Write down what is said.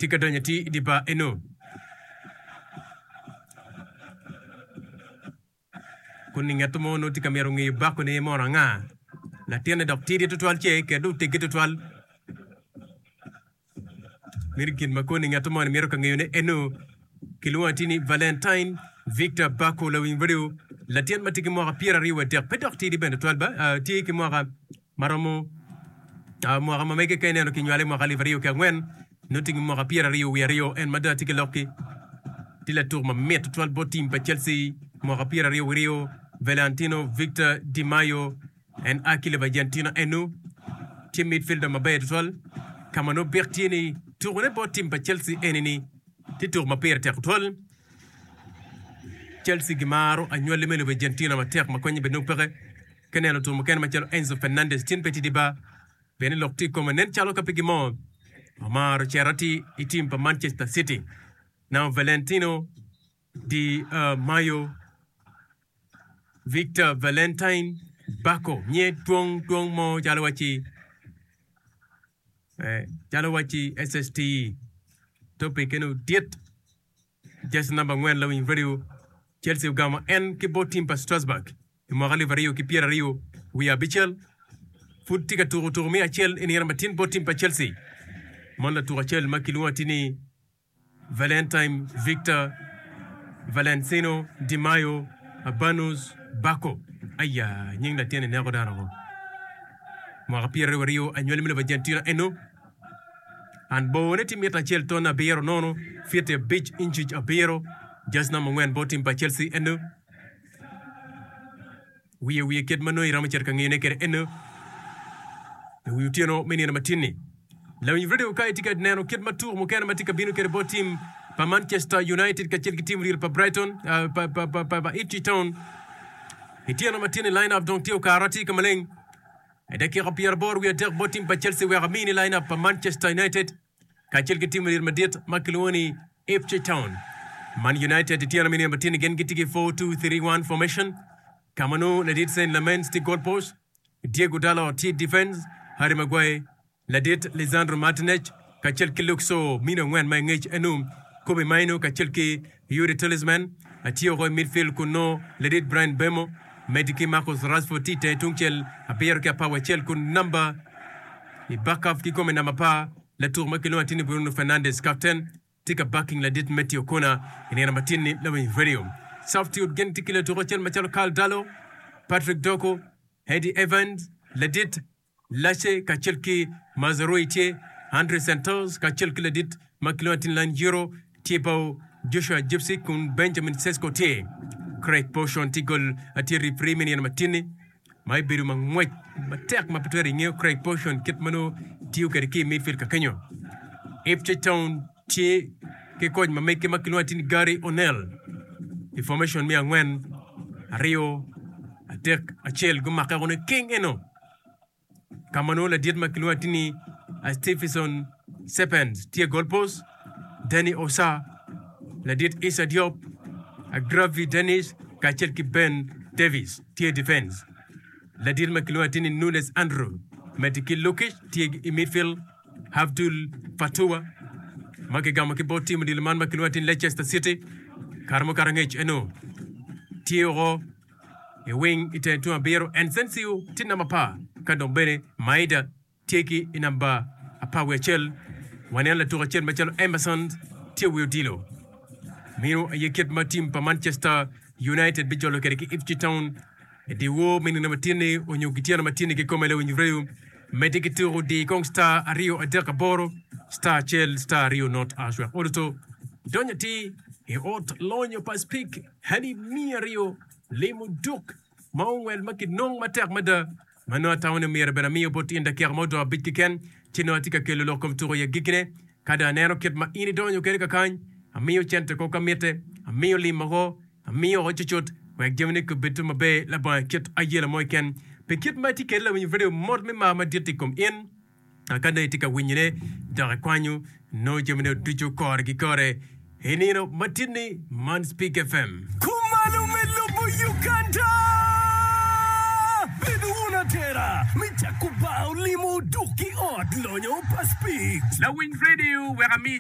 Tye ka donyo atir i dye bar eno. Kun i nget mo nongo tye ka mito ngeyo bakone mono anga. Latinne dok tidi tutwal ce kede otegge tutwal. Mito gin ma koni ngat moni mito ka ngeyone eno. Kilwongo atir ni Valentine Victor Bako lawiny radio, latin ma tye ki mwaka 23 pe dok tidi bene tutwal ba, tye ki mwaka ma romo mwaka ma mege ka ineno kinywale i mwaka 2004 nongo tye ki mwaka 22 en mada tye ki lokki tye latuk ma mit tutwal bot tim pa Chelsea mwaka 22 Valentino Victor Di Maio En a ki lobo Argentina enu tye midfielder maber tutwal ka ma nongo byek tye ni tukone bot tim pa Chelsea eni ni tye tuko ma pire tek tutwal. Chelsea gimaro anywali me lobo Argentina matek ma konye bene nongo peke. Ka ineno tuko mukene macalo Enzo Fernandez tin pe tidi ba pien ni lok tye i kome nen calo ka pe gimo omaro cito atir i tim pa Manchester City. Now Valentino Di Maio Victor Valentine Bako nye twong twong mo calo wacci calo wacci SST topic eno dit jersey namba angwen lawiny radio Chelsea ogamo en ki bot tim pa Strasbourg i mwaka 2020 wiye abicel pud tye ka tuko tuko me acel i nino matin bot tim pa Chelsea mon latuk acel ma kilwongo atir ni Valentine Victor Valencino Di Maio Abanus Bako Aya, nying latin-ni neko dano woko. Mwaka pyeraryo anywali me lobo Argentina eno. An borne tye mita acel ton abiro nono, fiti abic incic abiro, jersey namba angwen bot tim pa Chelsea eno. Wiye wiye kit ma nongo iromo cito ka ngiyone kwede eno i wi otyeno me nino matin-ni. Lawiny redio ka itye ka neno kit ma tuko mukene ma tye ka bino kwede bot tim pa Manchester United kacel ki tim ryel pa Brighton uh, pa, pa, pa, pa, pa Ipswich Town i tyeno matin-ni line up dong tye okato atir ka maleng i dakika pyeraboro wiye adek bot tim pa Chelsea wek amini line up pa Manchester United kacel ki tim myel madit ma kilwongo ni Ipswich Town. Man United i tyeno me nino matin-ni gin gitye ki 4-2-3-1 formation ka ma nongo ladit Senne Lammens tye goal post, Diego Dalot tye defense, Harry Maguire, ladit Lisandro Martinez kacel ki Luke Shaw mino angwen ma i ngec enu, Kobbie Mainoo kacel ki Youri Tielemans tye woko i midfield kun nongo ladit Bryan Mbeumo medde ki Marcus Rashford tye i tenge tungcel abiro ki apar wa acel kun namba I backup kikome namba apar, latuk ma kilwongo atir ni Bruno Fernandes, kapten, tye ka backing ladit Matthew Okona i nino matin-ni lawiny radio. Substitute gin tye ki latuk acel macalo Karl Darlow, Patrick Dorku, Eddie Evans, ladit Lace kacel ki Mazraoui tye, Andre Santos kacel ki ladit ma kilwongo atir ni Lanjiro tye bao, Joshua Zirkzee kun Benjamin Sesko tye. Craig Pawson tye gol tye referee me nino matin-ni. ma ebedo ma ngwec matek ma pe twero ingeyo Craig Pawson kit ma nongo tiyo kwede ki i midfield ka kenyo. Ipswich Town tye ki koc ma mege ma kilwongo atir ni Gary O'Neil i formation me angwen, aryo, adek, acel gumake woko niking eno. Ka ma nongo ladit ma kilwongo atir ni Stephenson Sepens tye goal post, Danny Osa, ladit Issa Diop, Agravi Dennis kacel ki Ben Davies tye defense. Ladit ma kilwongo atir ni Nunes Andrew medde ki Lukic tye i midfield, Abdul Fatuwa ma kigamo ki bot tim odilo man ma kilwongo atir ni Leicester City kare mukato angec eno tye woko i wing i teng tung abiro, Ensensio tye namba apar ka dong bene Maeda tye ki i namba apar wiye acel. Waneno latuk acel macalo Emerson tye i wi odilo. Meno aye kit ma tim pa Manchester United bijolo kwede ki Ipswich Town i dyewor me nino matin-ni onyo gityeno matin-ni kikome lawiny reyo. Medde ki tuko di kong star aryo adek aboro star acel star aryo not ash wek oduto donyo atir i ot lonyo pa Speke. Alip miya aryo limo duk ma ongwel ma kinong matek mada ma nongo atamo ni myero bene amiyo bot in dakika ma odong abic keken, ci nongo atye ka kelo lok kom tuko i agikkine. Ka dong aneno kit ma in idonyo kwede kakany, amiyo cente ko ka mitte, amiyo lim woko, amiyo woko cucut wek jamine gubed maber labongo kit ayela mo keken. Pi kit ma itye kwede lawiny redio mot me mar madit i kom in. Ka nongo itye ka winyone dok ikwanyo nongo jamine ducu kore ki kore i nino matin-ni, man Speak FM. Kumalo me lobo Uganda! Bed wun atera me cako bar olimo dok ki ot lonyo pa Speak. Lawiny redio wek ami.